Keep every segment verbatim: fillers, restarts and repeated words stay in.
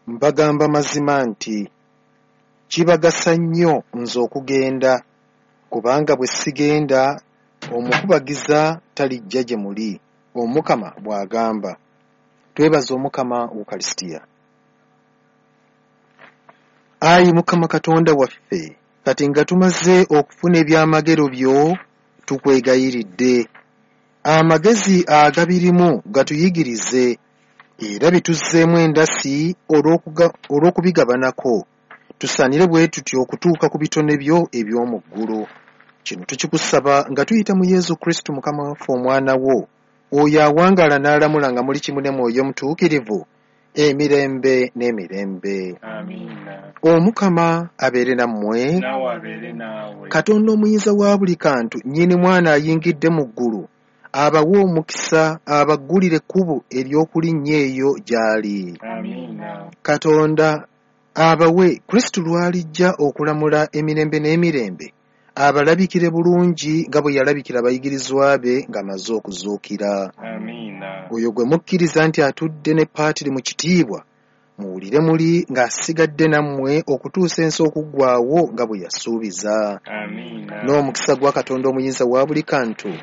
Mbagamba mazima nti kibagasa nnyo nze okugenda, kubanga bwe sigenda omukubagiza talijja gye muli, Omukama bw'agamba. Twebaza Omukama Ukalisitiya. Ayi Mukama Katonda waffe, kati nga tumaze okufuna ebyamagero byo, tukwegayiridde. Amagezi agabirimu gatuyigirize era bituzzeemu endasi olw'okubigabanako, tusaanire bwe tutyo okutuuka ku bitone byo eby'omu ggulu. Kino tukikusaba nga tuyita mu Yesu Kristo Mukama waffe Omwana wo, oyo awangaala n'alamula nga muli kimu ne Mwoyo Mutuukirivu, emirembe n'emirembe. Amiina. Omukama abeere nammwe. Naawe abeere naawe. Katonda omuyinza wa buli kantu, nnyini mwana ayingidde mu ggulu, abawe omukisa, abaggulire ekkubo ery'okulinnya eyo gy'ali. Amiina. Katonda abawe Kristo lw'alijja okulamula emirembe n'emirembe, abalabikire bulungi nga bwe yalabikira abayigirizwa be ng'amaze okuzuukira. Amiina. Oyo gwe mukkiriza nti atudde ne Paatiri mu kitiibwa, muwulire muli ng'asigadde nammwe okutuusa ensi okuggwaawo nga bwe yasuubiza. Amiina. N'omukisa gwa Katonda omuyinza wa buli kantu,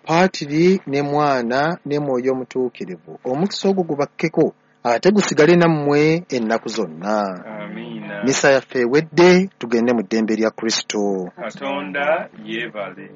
Paatiri ne Mwana ne Mwoyo Omutuukirivu, omukisa ogwo gubakkeko ate gusigale nammwe ennaku zonna. Amiina. Misa yaffe ewedde, tugende mu ddembe lya Kristo. Katonda yeebale.